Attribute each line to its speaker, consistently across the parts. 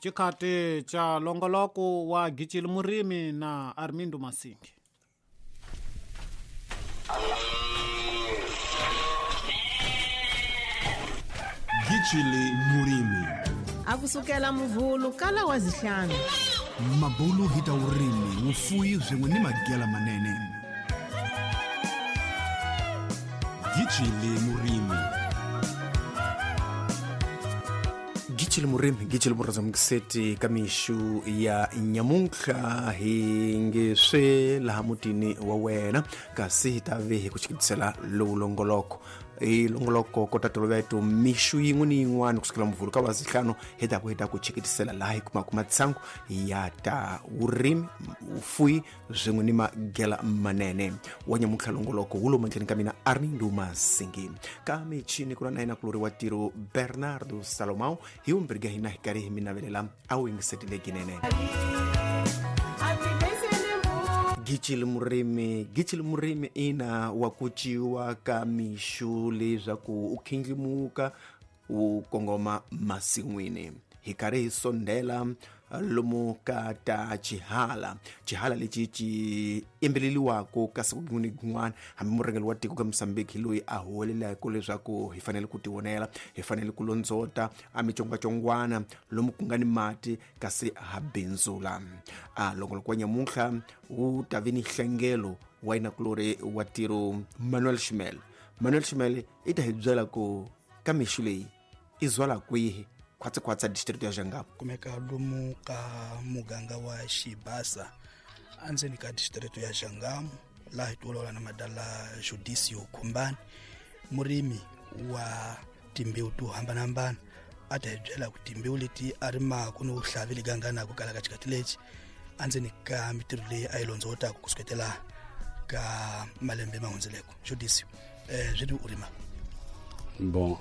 Speaker 1: Xikhati xa longoloko wa Gicili Murimi na Armindo Masingi.
Speaker 2: Gicili Murimi.
Speaker 3: A ku sukela muvhulu kala wa zihlanu.
Speaker 2: Mabulu hi ta vurimi, vufuwi swin'we ni magela manene. Gicili Murimi.
Speaker 4: Gicili Murimi, Gicili Murimi ka mixu ya nyamuntlha hi nge swe laha mutini wa wena kasi hi ta ve hi ku chikitisela lowu longoloko hi longoloko kota toloveto mixu yin'we ni yin'wana kusukela muvhulu ka lwazihlanu hi ta ku hi ta ku chikitisela laha hi kumaka matsangu ya ta vurimi vufuwi swin'we ni magela manene wa nyamuntlha longoloko wu lomu endleni ka mina Armindo Masingi ka michini ku na na yena kulori wa tiro Bernardo Salomão hi vumbirhi ka hina hi karhi hi mi navelela a wu yingisetile ginene. Gicili Murimi, Gicili Murimi ina wa ku ciwa ka mixu leswaku u khindlimuka wu kongoma masin'wini hi karhi hi sondela lomu ka ta xihala xihala lexi xi yimbeleliwaka ka siku rin'wana ni rin'wana hambi murhangeri wa tiko ka Mozambique hi loyi a huwelelaka leswaku hi fanele ku tivonela hi fanele ku londzota a mitsongwatsongwana lomu ku nga ni mati kasi ha bindzula a longoloko wa nyamuntlha wu ta vi ni nhlengelo wa yinakulori wa tiro Manuel Shimel. Manuel Shimel i ta hi byela ku ka mixu leyi i zwala kwihi khwatsi-khwatsi district ya Jangamo
Speaker 5: kumeka lomu ka muganga wa Xibasa endzeni ka district ya Jangamo laha hi tiolola na madala Judisio Khumbani murimi wa timbewu to hambanahambana a ta hi byela ku timbewu leti a rimaka ni vuhlavi liganganaku kala ka xikati lexi endzeni ka mitirho leyi a yi londzowotaka ku suketela ka malembe ma hundzeleko. Judisio, swi u rima?
Speaker 6: Bon,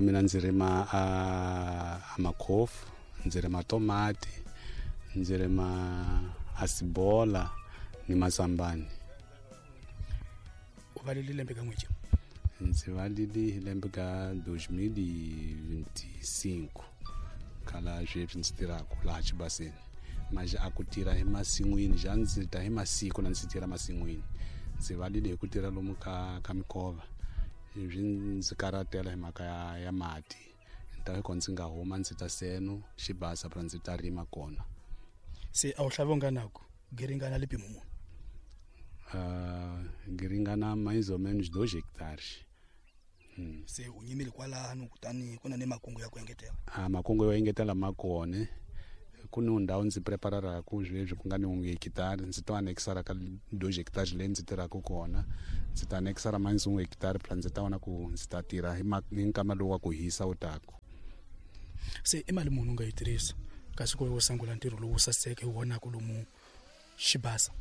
Speaker 6: mina ndzi rima a makhofu, ndzi rima tomati, ndzi rima asibola ni mazambani.
Speaker 5: U valile lembe ka n'weti?
Speaker 6: Ndzi valile hi lembe ka 2025 khala sweswi ndzi tirhaka laha Xibaseni. Manje a ku tirha hi masin'wini ja ndzi ta hi masiku na ndzi tirha masin'wini. Ndzi valile hi ku tirha lomu ka mikova swi ndzi karhatela hi mhaka ya mati. Ni ta ko ndzi nga huma ndzi ta seno Xibasa pra ndzi ta rima kona.
Speaker 5: Se a wu hlavi u nga naku giringana lipi mumu?
Speaker 6: Giringana mais ou menos 2 hectares.
Speaker 5: Se u nyimile kwalano kutani ku na ni makungu ya ku engetela?
Speaker 6: Makungu yo engetela ma kona. Ku ni ndhawu ndzi prepararaka sweswi ku nga ni 1 hectare ndzi ta anexara ka 2 hectares leyi ndzi tirhaka kona. Ndzi ta anexara mais 1 hectare pra ndzi ta vona ku ndzi ta tirha hi nkama lowu wa ku hisa wu taka.
Speaker 5: Se i mali muni u nga yi tirhisa kasi ku u sungula ntirho lowu saseke hi vonaka lomu Xibasa?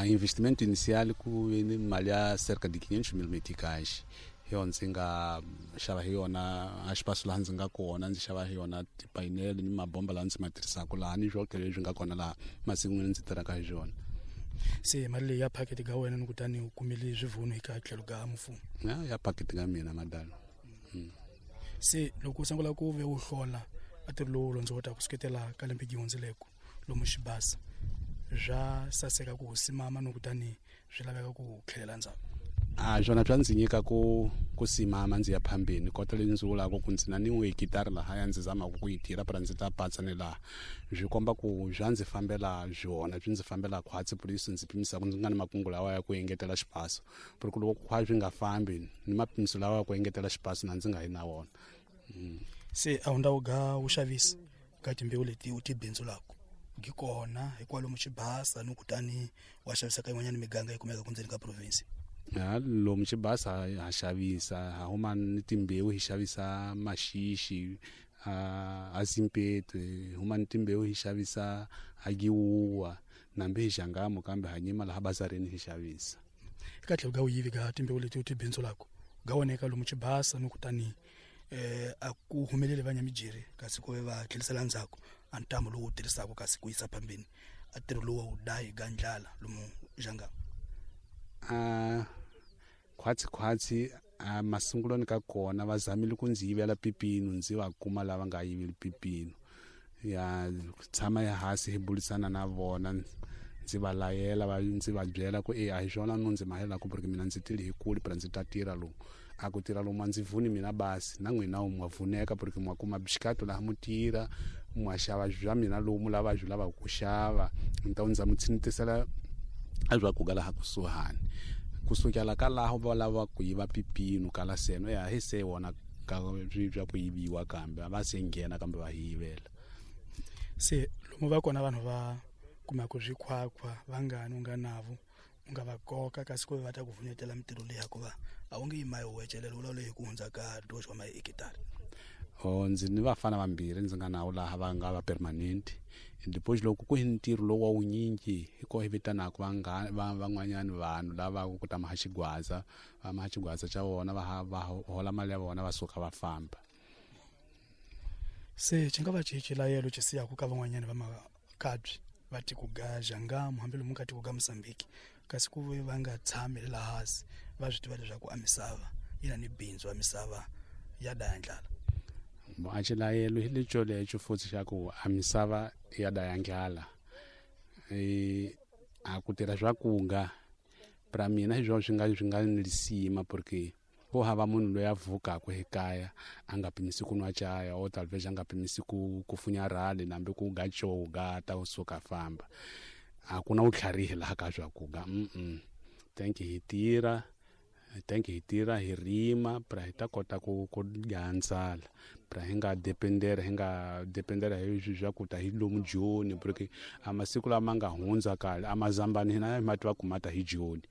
Speaker 6: Investimento inicial ku ve ni mali ya cerca de 500 mil meticais. Hi yona ndzi nga xava hi yona a xipaso laha ndzi nga kona, ndzi xava hi yona tipainele ni mabomba laha ndzi ma tirhisaka laha ni swoke leswi nga kona laha masin'wini ndzi tirhaka hi swona.
Speaker 5: Se mali leyi ya packet ka wena ni kutani u kumile swivuno eka tlhelo ka mfumo?
Speaker 6: Ya packet ka mina madala.
Speaker 5: Se loko u sungula ku ve u hlola a ntirho lowu londzowotaka ku suketela ka lembe gihundzeleko lomu Xibasa swa saseka ku simama no kutani swi laveka ku tlhelela ndzhaku?
Speaker 6: Swona swa ndzi nyika ku simama ndzi ya phambeni kota leyi ndzi vulaka ku ndzi na ni 1 hectare lahaya ndzi zamaka ku yi tirha pra ndzi ta patsa ni laha swi komba ku swa ndzi fambela swona swi ndzi fambela khwatsi por isso ndzi pimisaka ndzi nga ni makungu lawa ya ku engetela xipaso por ku loko khwa swi nga fambi ni mapimiso lawa ya ku engetela xipaso na ndzi nga yi na wona.
Speaker 5: Se a wu ndhawu ga vuxavisi ka timbewu leti u ti bindzulaka gi kona hikwalomu Xibasa ni kutani wa xavisa ka yin'wanyana miganga yi kumeka kundzeni ka province?
Speaker 6: Lomu Xibasa ha xavisa, ha huma ni timbewu hi xavisa maxixi a Zimpeto, hi huma ni timbewu hi xavisa a Giwuwa nambi hi Jangamo kambe ha nyima laha bazareni hi xavisa.
Speaker 5: Eka tlhelo ka vuyivi ka timbewu leti u ti bindzulaka ga voneka lomu Xibasa ni kutani a ku humeleli va nyamijeri kasi ku ve va tlhelisela ndzhaku a ntamu lowu wu tirhisaka kasi ku yisa phambeni a ntirho lowu wu dayi ga ndlala lomu Jangamo?
Speaker 6: Khwatsi khwatsi A masungulweni ka kona va zamile ku ndzi yivela pipino, ndzi va kuma lava nga yiveli pipino. Ya tshama ehansi hi burisana na vona, ndzi va layela, va ndzi va byela ku a hi swona no ndzi mahela ku porque mina ndzi tile hi kule pra ndzi ta tirha lomu. A ku tirha lomu a ndzi vuni mina basi na n'wina mwa vuneka porque mwa kuma bixikato laha mu tirha, mwa xava bya mina lomu lava byi lavaka ku xava. Então ndza mu tshintisela a bya ku laha kusuhani. Kusukela ka laha va lava ku yiva pipino kala seno ya hi se wona ka bya ku yiviwa kambe va se nghena kambe va yivela.
Speaker 5: Se lomu va kona vanhu va kumaka swikhwakhwa vangani u nga navo u nga va koka kasi ku va ta ku vunetela mitirho leyi hikuva a wu nge yi mayi wecelela u leyi ku hundza ka 2 wa mahekitara.
Speaker 6: Ndzi ni vafana vambirhi ndzi nga nawo laha va nga va permanent. Depois loko ku hi ntirho lowu wa wunyingi hi ko hi vitanaka van'wanyani vanhu lava ku ta maha xigwaza, va maha xigwaza xa vona, va hola mali ya vona va suka va famba.
Speaker 5: Se xi nga va xilayelo xi siyaka ka van'wanyani va makabyi va tiko ga Zhangamu hambi lomu ka tiko ga Mozambique kasi ku ve va nga tshami laha hansi va swi tiva leswaku a misava yi na ni bindzu a misava ya daya ndlala.
Speaker 6: A xilayelo hi lexo lexo futhi xa ku a misava ya daya ndlala. A ku tirha swa kunga pra mina hi swona swi nga ni lisima porque ku hava munhu loyi a vukaka ekaya a nga pimisi ku nwa chaya o talvez a nga pimisi ku funya rhali nambi ku ga choga ta suka famba. A ku na vutlharihi laha ka swa ku ga. Thank you hi tirha, thank you hi tirha hi rima pra hi ta kota ku gandzala pra hi nga dependera hi swa ku ta hi lomu Joni porque a masiku lama nga hundza kale a mazambani hina hi ma tiva ku mata hi Joni.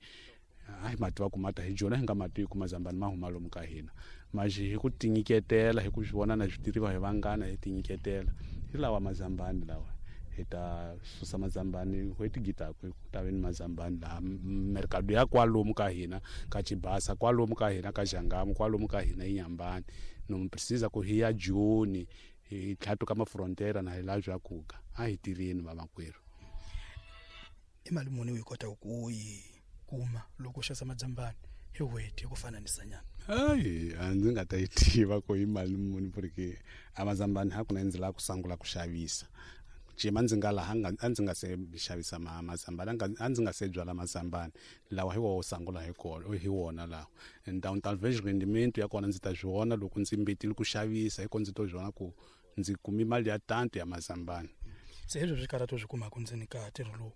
Speaker 6: A hi ma tiva ku mata hi Joni, hi nga ma tivi ku mazambani ma huma lomu ka hina. Mas hi ku tinyiketela, hi ku swi vona na swi tirhiwa hi vanghana, hi tinyiketela hi lawa mazambani lawa. Hi ta susa mazambani n'hweti gitaku ku ta ve ni mazambani laha mercado ya kwalomu ka hina ka Chibasa, kwalomu ka hina ka Zhangamu, kwalomu ka hina Inhambane. No precisa ku hi ya Joni hi tlhatuka mafrontera na hi la swa kuka. A hi tirheni vamakwerhu.
Speaker 5: I mali muni u yi kotaka ku yi kuma loko u xavisa mazambani hi n'hweti hi ku fananisa nyana?
Speaker 6: Hayi, a ndzi nga ta yi tiva ku i mali muni porque a mazambani hakunene ndzi lava ku sungula ku xavisa. Cima ndzi nga laha a ndzi nga se xavisa mazambani, a ndzi nga se byala mazambani lawa hi wo sungula hi kona hi wona lawa. Então talvez rendimento ya kona ndzi ta swi vona loko ndzi mbetile ku xavisa, hiko ndzi to swi vona ku ndzi kumi mali ya tanto ya mazambani.
Speaker 5: Se hezwo swikarhato swi kumaka ndzeni ka ntirho lowu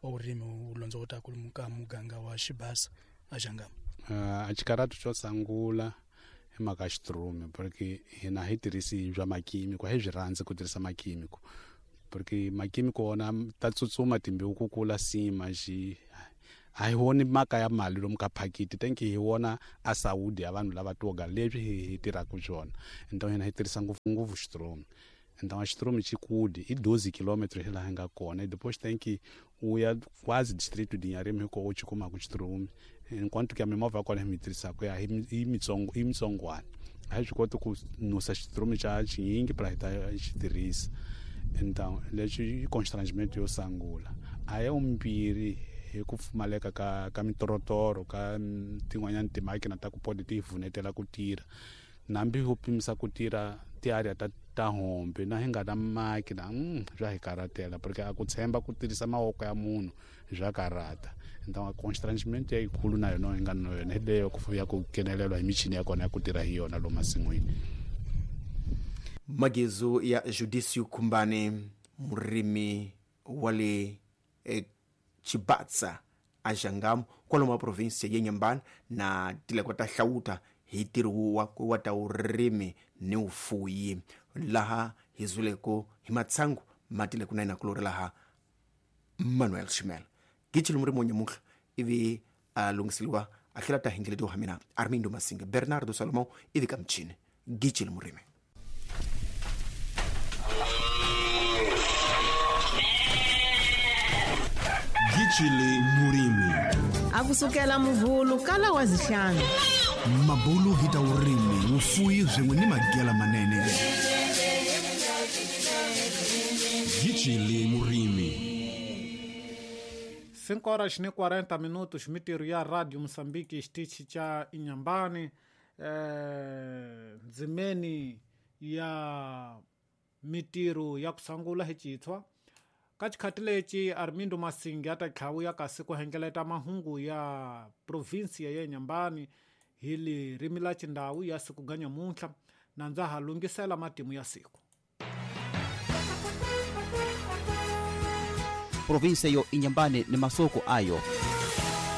Speaker 5: wa vurimi wu londzovotaka lomu ka muganga wa Xibasa a Zhangamu?
Speaker 6: A xikarhato xo sungula hi mhaka ya xitirumi porque hina hi tirhisi bya makhemico, a hi byi rhandzi ku tirhisa makhemico porque makhemico wona ta tsutsuma timbewu ku kula sima xi a hi voni mhaka ya mali lomu ka phakiti, thank you hi vona a saudi ya vanhu lava toga leswi hi tirhaka swona. Então hina hi tirhisa ngopfungopfu xitirumi. Então a xitirumi xi kule i 12 kilometro hi laha hi nga kona. Depois tem que u ya quase distrito de Inharime hiko u xi kumaka xitirumi. Enquanto que a mimovha ya kona hi mi tirhisaka ya i mitsongo, i mitsongwana. A hi swi koti ku nusa xitirumi xa xinyingi pra hi ta xi tirhisa. Então leswi i constrangimento yo sungula. A ya vumbirhi hi ku pfumaleka ka mitorotoro ka tin'wanyana timakina ta ku pode ti hi vunetela ku tirha. Nambi ho pimisa ku tirha ti-area ta hombe na hi nga na makina, swa hi karhatela porque a ku tshemba ku tirhisa mavoko ya munhu swa karhata. Então a constrangimento ya yikulu na yona hi nga na yona hi leyo ya ku nghenelelwa hi michini ya kona ya ku tirha hi yona lomu masin'wini.
Speaker 4: Magezu ya Judiciu Khumbane, murimi wa le Chibatsa a Zhangamu kwalomu province ya Inhambane na tileko ta hlawuta hi ntirho wa ta vurimi ni vufuyi laha hi zuleko hi matsangu ma tile ku na kulori laha Manuel Shimel Gitshilo murimi wa nyamuhla ivi a lunghiseliwa a tlhela ta hingeletiwa mina Armindo Masinga Bernardo Salomão ivi ka michini. Gitshilo murimi.
Speaker 2: Gitshile murimi.
Speaker 3: A kusukela muvhulu kala wa zihlanu.
Speaker 2: Mabulu hi ta vurimi, vufuyi swin'we ni magela manene. Gitshile murimi.
Speaker 1: 5 horas e 40 minutos, mitirho ya Radio Moçambique, xitichi cha Inhambane. Ndzimeni ya mitirho ya ku sangula hi citshwa ka xikhati lexi Armindo Masingi a ta tlhawuya kasi ku hengeleta mahungu ya provinsia ya Nyambani hi lirimi la xindhawu ya siku ga nyamuntlha na ndza ha lunghisela matimu ya siku.
Speaker 7: Provinsia yo Inhambane ni masoko ayo.